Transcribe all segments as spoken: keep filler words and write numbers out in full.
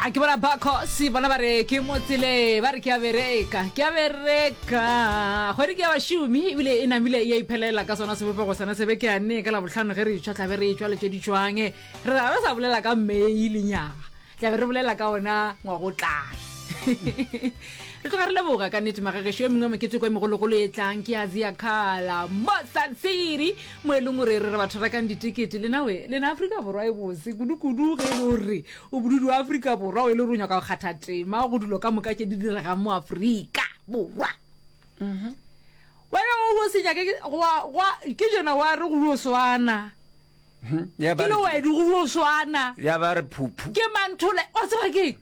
A ke bona Bakhosi bona ba re ke mo tseleng, ba re ke a bereka, ke a bereka. Kgwedi ke ya bašomi ebile e namile e a iphelela ka sona sebopego sona se be ke a nne ka Labohlano ge re etšwa tla be re etšwa le tše di tšwang. Re ra re sa bolela ka May lenyaga, tla be re bolela ka ona ngwagotlang. Re tloga re leboga ka nnete magagešo. E mengwe meketeko e megologolo e tlang ke ya Ziakhala mo Sun City, mo e leng gore re re batho rekang ditekete. Lena we, lena Afrika Borwa e bose kudu-kudu ge e le gore o modudi wa Afrika Borwa, o e le gore o nyaka go kgatha tema go dilo ka moka tše di diregang mo Afrika Borwa. Wena o o se nyake gwa gwa ke jona wa re go yo swana. Ya Ke ba le re wena go yo swana. Ya ba re phuphu. Ke manthole, wa tseba ke eng?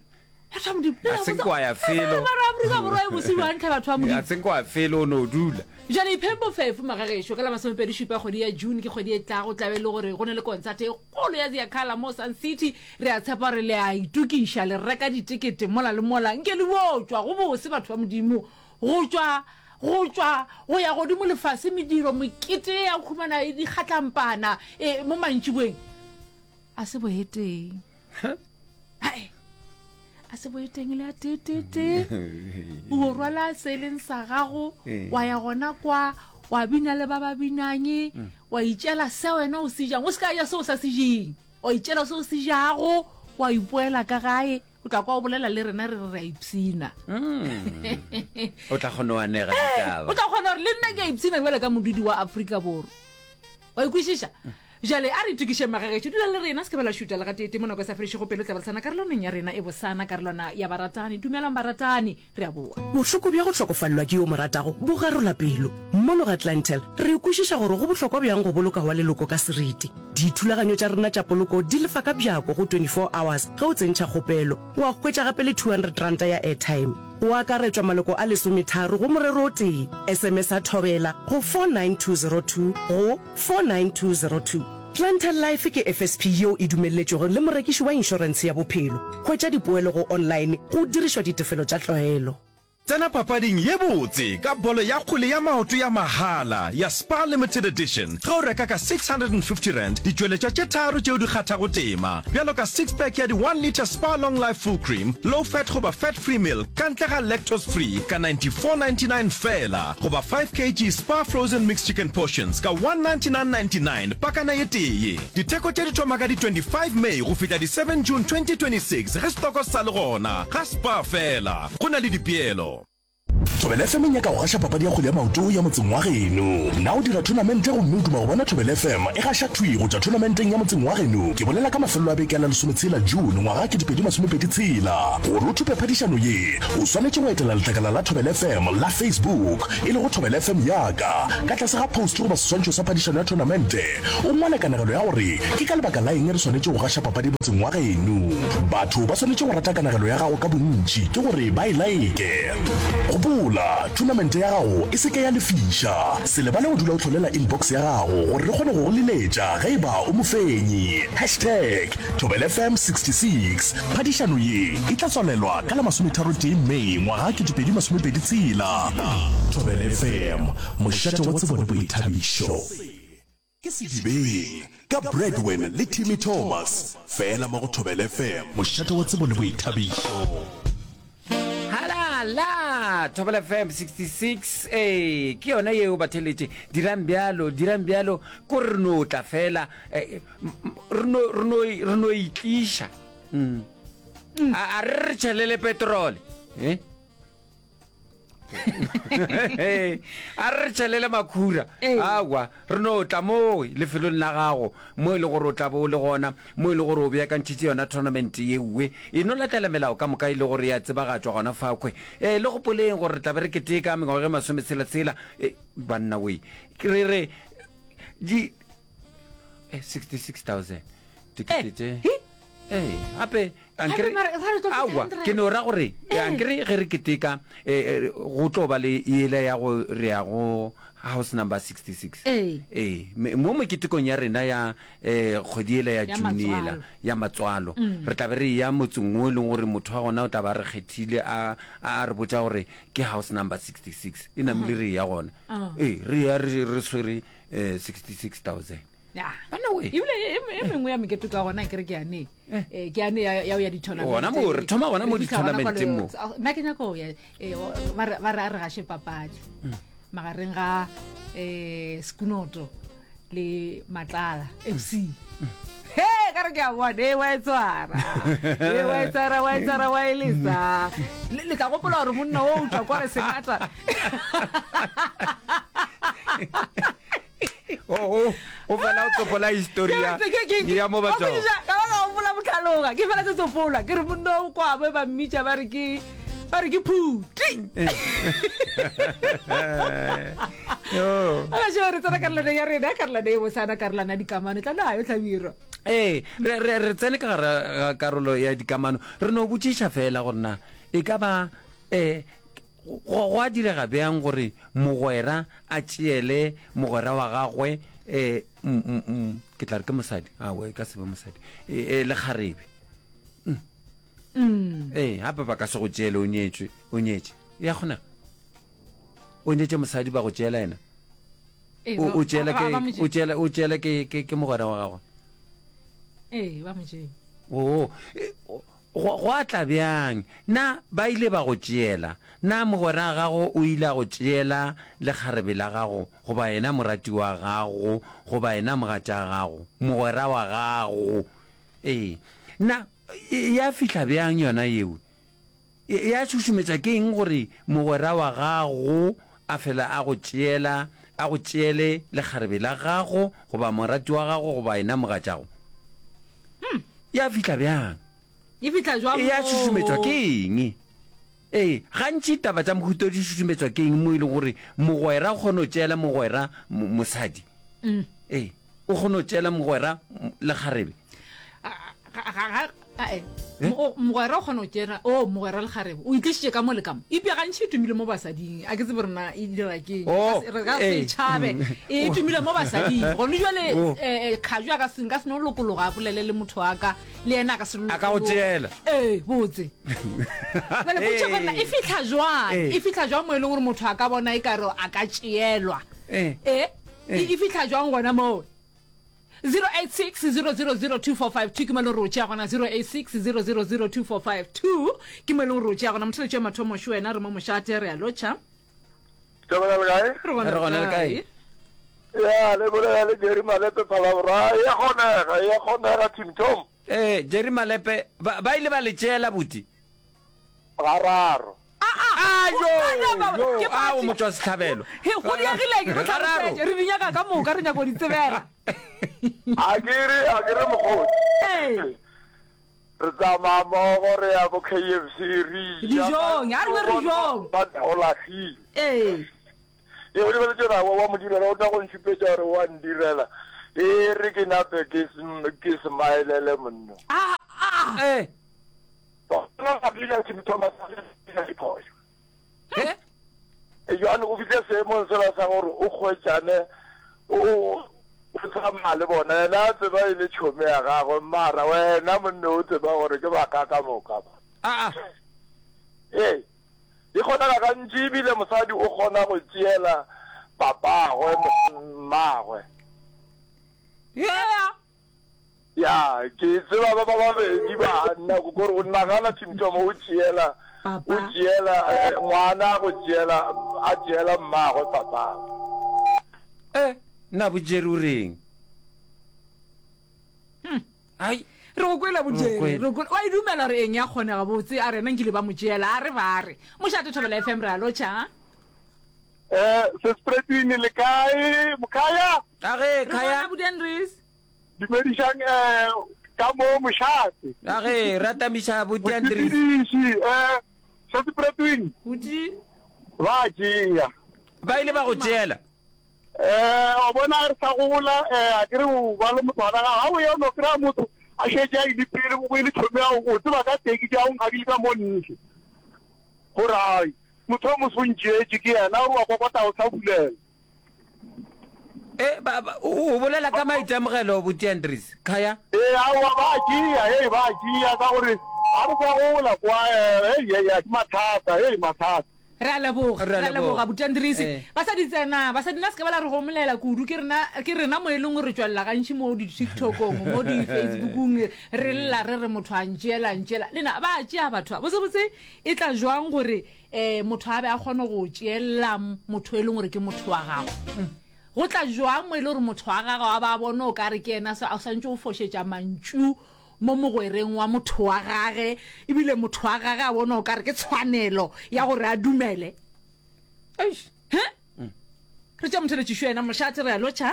Batho ba Modimo, le A la se botsa- kwa ya felo. Mara Afrika Borwa e bose bjang tlhe batho ba Modimo. A se kwa felo o no dula. Jale ipheng bofefo magagešo ka la masomepedi šupa kgwedi ya June ke kgwedi e tlago tlabe e le gore go na le konsate e kgolo ya Ziakhala mo Sun City. Re a tshepa gore le a itokiša le reka ditekete mola le mola nke le bo tšwa go bose batho ba Modimo go tšwa go tšwa go ya godimo lefase mediro mekete ya go humana e dikgatlampana e mo mantšiboeng a se boeteng. Hai. A se boeteng le a tee-tee-tee. O rwala se e leng sa gago, wa ya gona kwa, wa bina le ba ba binang, wa itšela se wena o se jang. O se ka ja se o sa se jeng. Wa itšela se o se jago, wa ipoela ka gae. O tla kwa o bolela le rena re re re a ipshina. O tla kgona go anega ditaba. O tla kgona gore le nna ke a ipshina bjalo ka modudi wa Afrika Borwa. Wa ikwešiša? Bjale a re itokišeng magagešo. Dula le rena, se ke ba la šuta le gateetee mo nako e sa fedišego pelo. Tla ba re sana karolwaneng ya rena e bosana, karolwana ya baratani. Dumelang baratani, re a boa. Bohloko bja go hlokofalelwa ke yo o mo ratago bo garola pelo. Mono ga Clientele, re kwešiša gore go bohlokwa bjang go boloka wa leloko ka seriti. Dithulaganyo tša rena tša poloko di lefa ka bjako go twenty-four hours ge o tsentšha kgopelo. Wa hwetša gape le two hundred ranta ya airtime. Go akaretšwa maloko a lesometharo go morero o tee. S M S a Thobela go four nine two zero two go four nine two zero two. Clientele Life ke F S P yeo e dumelletšwego le morekiši wa inšorentshe ya bophelo. Hwetša dipoelo go online go dirišwa ditefelo tša tlwaelo. Tsena papading ye botse ka bolo ya kgwele ya maoto ya mahala ya Spar Limited Edition ge o reka ka six hundred and fifty rand ditšweletšwa tše tharo tšeo di kgathago tema bjalo ka six pack ya di one litre Spar Long Life Full Cream Low Fat goba Fat Free Milk ka ntle ga Lactose Free ka ninety four ninety nine feela goba five K G Spar Frozen Mixed Chicken Portions ka one ninety nine ninety nine pakana ye tee. Ditheko tše di thoma ka di twenty five May go fihla di seven June twenty twenty six ge stoko se sa le gona ga Spar feela. Go na le dipeelo. Thobela F M e nyaka go gaša papadi ya kgwele ya maoto ya motseng wa geno. Na o dira thonamente gomme o duma go bona Thobela F M e gaša thwi go tšwa thonamenteng ya motseng wa geno? Ke bolela ka mafelelo a beke a la lesometshela June ngwaga ketepedi masomepedi tshela. Gore o thope phadišano ye, o swanetše go etela letlakala la Thobela F M la Facebook, e lego Thobela F M Yaka. Ka tlase ga post goba seswantšho sa phadišano ya thonamente, o ngwale kanegelo ya gore ke ka lebaka la eng re swanetše go gaša papadi motseng wa geno. Batho ba swanetše go rata kanegelo ya gago ka bontši, ke gore ba e like. Gopola, thonamente ya gago e se ke ya lefiša. Se lebale go dula o hlolela inbox ya gago gore re kgone go go leletša ge e ba o mofenyi. Hashtag Thobela F M sixty-six. Phadišano ye e tla tswalelwa ka la masometharotee May ngwaga ketepedi masomepedi tshela. Thobela F M, mošate wa tsebo le boithabišo. Ke Sedibeng ka Bradwin le Timmy Thomas, fela mo go Thobela F M, mošate wa tsebo le boithabišo. Halala! Thobela F M sixty-six, ee, ke yona yeo batheletše. Dirang bjalo, dirang bjalo, ko re no tla fela, eh, re no, re no, re no itliša. Mm. A, a re re tšhelele petrole, eh? A re re tšhelele makhura. Ee. Aowa, re no tla mo lefelong la gago mo e le gore o tla bo o le gona, mo e le gore o beakantšhitše yona tournament yeowe. E no latela melao ka moka e le gore ya tsebagatšwa gona fakhwe. E le gopoleng gore re tla be re keteka mengwaga e masometshela-tshela. E, banna wee, re re di eh, sixty-six thousand dikete tše. Hi? Ee, gape ankere Gape mara- mara tlo feta aowa, hundred. Ke no ra gore Ee. ankere ge re keteka eh, eh, go tlo ba le yela ya go re ya go house number sixty-six. Ee. Ee, me- mo meketekong ya rena ya eh, kgwedi yela ya Ya June yela matswalo. ya matswalo, re tla be re ya motseng o e leng gore motho wa gona o tla ba re kgethile a a re botša gore ke house number sixty-six e namile re ya gona. Ah. Ee, re ya re re swere eh, sixty-six thousand. Ya. Banna we. Ebile e, e mengwe ya mekete ka gona ke re ke yane. Eh, ke yane ya ya go ya di-tournament. Gona moo, re thoma gona mo Re fihla gona di-tournamenteng kwa mo. le- Nna ke nyaka go ya eh, o- ba re ba re a re gaše papadi. Magareng ga eh Sekunoto le Matlala F C. He, ka re ke a bona, e wa e tshwara. E wa e tshwara, wa e tshwara, wa e lesa. Le le tla gopola gore monna o o tšwa kwa re sengata. O o o fela o tsopola histori ya ya mo ba tswang. Ka ba ka gopola botlhaloga ke fela ke tsopola ke re monna o kwa ba ba mmitša ba re ke ba re ke phuti. Yo. A ka re tsena karolwana ya rena karolwana e bosana karolwana ya dikamano tla nayo tlhabirwa. Ee, re re re tsene ka gare ga karolo ya dikamano. Re no botšiša fela gore na e ka ba eh go go a direga bjang gore mogwera a tšeele mogwera wa gagwe eh mm, mm, mm, ke tla re ke mosadi awe e ka se be mosadi e, e, lekgarebe Mm. ee gape ba ka se go tšeele o nyetšwe o nyetše ya kgonega o nyetše mosadi ba go tšeela yena Ee, o ba- o tšeela ba- ba- ba ke mo tšee. o tšeela o tšeela ke ke ke mogwera wa gagwe Ee, ba mo tšee. oo e, go go a tla bjang na ba ile ba go tšeela na mogwera wa gago o ile a go tšeela lekgarebe la gago goba yena morati wa gago goba yena mogatša gago mogwera wa gago ee na e- ya fihla bjang yona yeo E- ya šušumetša ke eng gore mogwera wa gago a fela a go tšeela a go tšeele lekgarebe la gago goba morati wa gago goba yena mogatšago ya fihla bjang E fihla jwang e ya moo? šušumetšwa ke eng ee gantši taba tša mohuto di šušumetšwa ke eng mo e leng gore mogwera o kgone go tšeela mogwera mo- mosadi Mm. ee o kgone go tšeela mogwera m- lekgarebe Ga- ga- ga- a- eh. Mo- mogwera o kgona go tšeela o mogwera lekgarebe o itlišitše ka mo le ka mo epša gantši e tumile mo basading a ke tsebe rena e dira ke eng. Oh, Re ka se eh. e tšhabe e tumile mo basading gone jale Oh. eh, kgaju a ka se nka se no lokologa a bolele le motho wa ka le yena a ka se A ka go lokologe. tšeela. ee botse jale potso gore na e fitlha jwang Eh. e fitlha jwang mo e leng gore motho a ka bona e kare a ka tšeelwa Eh. e e fitlha jwang gona moo zero eight six zero zero zero two four five two ke mo e leng gore o tšea gona zero eight six zero zero zero two four five two ke mo e leng gore o tšea gona motheletši wa mathomo šo wena re mo mošate re a lotšha Thobela le kae? re gona Re gona le kae? Ya, le bolela le Jerry Malepe Phalaborwa. E a kgonega, e a kgonega Tim Tom. ee jerry malepe ba ba ile ba le tšeela buti Gararo. a Yo, yo ke yo a o party. motho wa sehlabelo He, go diegileng re Gararo. tlhalosetše re di nyaka ka moka re nyaka go di tsebela A ke re, a ke re mokgotsi. Ee. Re tsamaya mmogo re ya bo K F C re ja. Dijong, a re be dijong. Ba o lahlile. ee E o lebeletse gore wa wa mo direla o tla go ntšhupetša gore wa ndirela. E re ke nape ke sm- ke smilele monna. Ah, ah. ee Bona ga dira Tim Thomas a diphošo. Eh? Jwale o fihle seemong sela sa gore o kgwetšane o o tsamaya le bona yena a tseba e le tšhomi ya gagwe mara wena monne o tseba gore ke baka ka moka ba. a a Ee, e kgonega gantši ebile mosadi o kgona go tšeela papagwe mmagwe. Yeah. Ya, ke tseba ba ba babedi ba nna kore o nagana Tim-Tom o tšeela Papa. o tšeela eh, ngwana go tšeela a tšeela mmagwe papagwe. eh nna bo jerry o reng ai re go kwela Re go bojere kwele. re kwele wa e dumela gore eng ya kgonega botse a rena nkile ba mo tšeela a re ba re mošate thobela F M re a lotšha Eh, sespretwini le kae mokhaya? a ge re khaya bona budiandres Dumedišang eh ka mo mošate. a ge ratamiša bodiandris Mosepediši eh sespretwini bodi ba tšea. ba ile ba go tšeela Eh o bona re sa gola eh a ke re o ba le motho wa gago ha o ya o no kry-a motho a šetše a ile pele o ile tšhomi ya o tseba ka teki tša o nkgakile ka mo ntle. Gore ai motho o moso o ntšeetše ke yena o re wa kokota o sa bulela. e ba ba- o o bolela ka maitemogelo bodiandris khaya Ee, aowa ba tšea, hei ba tšea ka gore ga re sa gola kwa eh, hei hei ke mathata, hei mathata. Re a leboga, Re a re a leboga, leboga. Butandrisi. Eh. Basadi tsena, basadi nna se ka ba la re gomolela kudu, ke rena, ke rena mo e leng gore re tšwelela gantši mo di-TikTok-ong, mo di-Facebook-ong, re lla re re motho a ntšeela, a ntšeela. Lena ba a tšea batho ba. Botsebotse e tla jwang gore um motho a be a kgone go tšeela motho e leng gore ke motho wa gago? Go tla jwang mo e le gore motho wa gago a ba a bone o ka re ke yena a swantše go fošetša mantšu mo mogwereng wa motho wa gage, ebile motho wa gage a bona o ka re ke tshwanelo ya gore a dumele? Eish. He? Re tša motheletšišo yena mošate re a lotšha.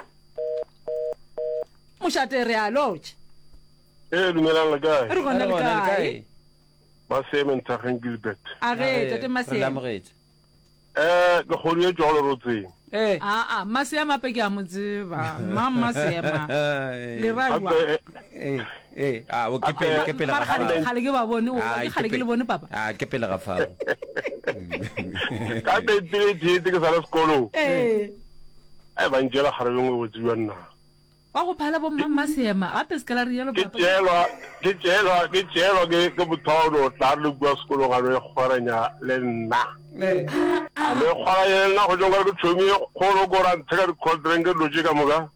Mošate re a lotšha. Ee, dumelang le kae? Re gona Re le gona le kae? kae? Maseme Ntageng Gilbert. A ge Re tate le Maseme. amogetše. Eh, ke kgodu e tšwago lerotseng. Ee. Aa, Maseema ape ke a mo tseba. Mang Maseema? Le ra Gape jwang? eh, Ee, ee, a o ke pele, ke pele Mara ga kgale fao. kgale ke ba bone, o Ai, ke kgale ke le pe- bone papa. Ah, ke pele ga fao. ka nineteen eighty-eight ke sa le sekolong. Ee. Ai ba ntšeela kgarebe nngwe botse bja nna. Wa go phala bo mma Maseema, gape se ka la rialo Ke papa. tšeelwa, ke tšeelwa, ke tšeelwa ke ke motho wa go no tla re le kua sekolong a no ikgweranya le nna. Ee. A no ikgweranya le nna go tšwa nkare ke tšhomi e kgolo ko ra ntheka di-cold drink dilo tše ka moka.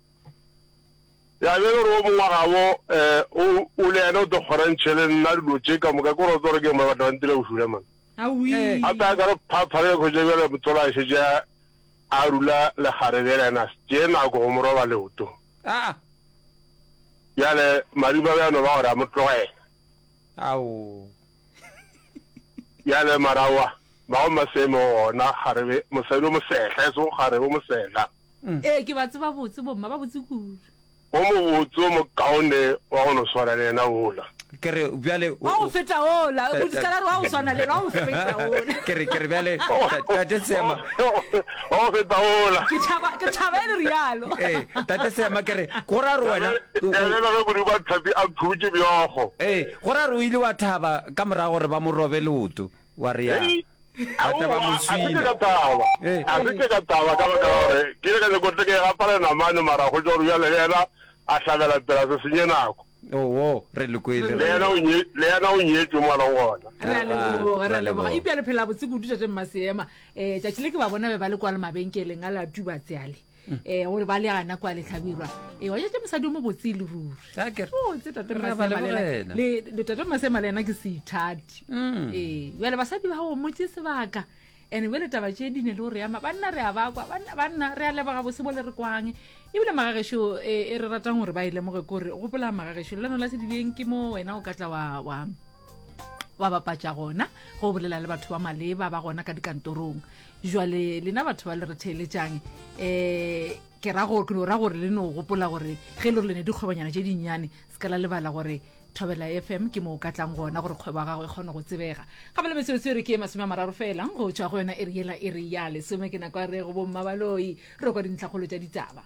Ya be e le gore o mongwe wa gabo um o o le yena o te kgwerantšhe le nna dilo tše ka moka ke gore o tlo re ke mo batho ba ntira bošula man. Aowi. Gape a ka re phaphare ke hwetša bjale motsola a šetše a a rula lekgarebe le yena a se tšee nako go mo roba leoto. Ah. Bjale madimabe a no ba gore a mo tlogela. Ao. Bjale mara aowa, ba go Maseme gona kgarebe, mosadi o mosehla, e sego kgarebe, o mosehla. Ee, ke ba tseba botse bomma, ba botse kudu. O mobotse o mokaone wa go no swana le yena wola. Ke re bjale o, Wa go o, feta wola, o se ka la re wa go swana le yena, wa go feta wola. Ke re, ke re bjale, ta- Tate Seema. Wa go feta wola. Ke thaba, ke thaba e le rialo. Ee, Tate Seema, ke re, go ra re wena, o, o, Bjale ge Modimo a tlhapi a phutše bjogo. Ee, go ra re o ile wa thaba ka morago gore ba mo robe leoto, wa re ya. Hei, Ba tla ba mo aowa, a se ke swina. ka thaba. Ee. A se ke ka thaba ka baka la gore ke ile ka nyako tle ke gapale namane mara go tšwa gore bjale le yena a hlabela pela se senye nako. Oo, re le kwele. Le yena o nye, le yena o nyetšwe mo a leng gona. Re a leboga, re a Re a leboga. leboga. Eupša le phela botse kudu tate Mmaseema. Eh, tšatši le ke ba bona be ba le kwa le mabenkeleng a la Tubatse ale. Eh, gore ba le gana kwa Lehlabirwa. Eh, wa tšatši mosadi o mo botse e le ruri. A ke re. Botse tate Re a ba Mmaseema le yena. lebogela. Le, le tate Mmaseema le yena ke seithati. Eh, bjale basadi ba go motse sebaka. Ene bjale taba tše di ne le gore ama banna re a ba kwa, banna, banna re a leboga bose bo le re kwang. Ebile magagešo, eh, e re ratang gore ba e lemoge ke gore gopola magagešo lelano la sedibeng ke mo wena o ka tla wa, wa, wa bapatša gona go bolela le batho ba maleba ba gona ka dikantorong. Jwale lena batho ba le re theeletšang, eh, ke ra gore, ke no ra gore le no gopola gore ge e le gore le ne dikgwebonyana tše dinnyane, se ka la lebala gore Thobela F M ke mo o ka tlang gona gore kgwebo ya gago e kgone go tsebega. Gape le metsotso e re ke e masome a mararo fela go tšwa go yona e re yela e re ya lesome ke nako ya re go bomma baloi re kwa dintlhakgolo tša ditaba.